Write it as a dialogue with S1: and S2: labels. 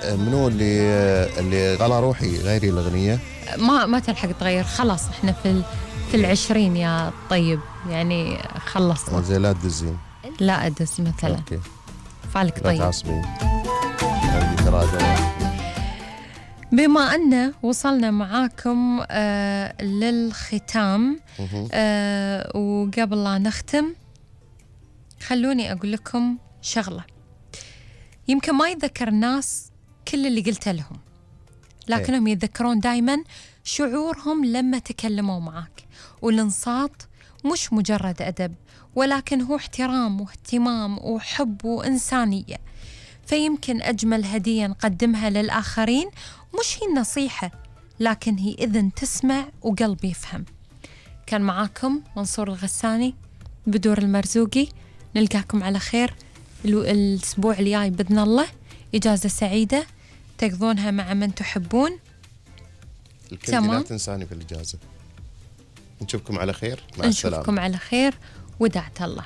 S1: منو اللي غلا روحي غيري الأغنية؟
S2: ما تلحق تغير، خلاص احنا في العشرين يا طيب، يعني خلصنا.
S1: زي لا تدزين.
S2: لا أدز مثلا.
S1: اوكي.
S2: فعلك طيب.
S1: لا تعصبين. عندي تراجع.
S2: بما أن وصلنا معاكم للختام، وقبل لا نختم خلوني أقول لكم شغلة. يمكن ما يتذكر الناس كل اللي قلته لهم، لكنهم يتذكرون دايما شعورهم لما تكلموا معك. والانصات مش مجرد أدب، ولكن هو احترام واهتمام وحب وإنسانية. فيمكن أجمل هدية نقدمها للآخرين مش هي النصيحة، لكن هي إذن تسمع وقلب يفهم. كان معاكم منصور الغساني بدور المرزوقي. نلقاكم على خير الأسبوع الجاي بإذن الله. إجازة سعيدة تقضونها مع من تحبون.
S1: تمام. لا تنساني في الإجازة. نشوفكم على خير. مع السلامة.
S2: نشوفكم على خير ودعت الله.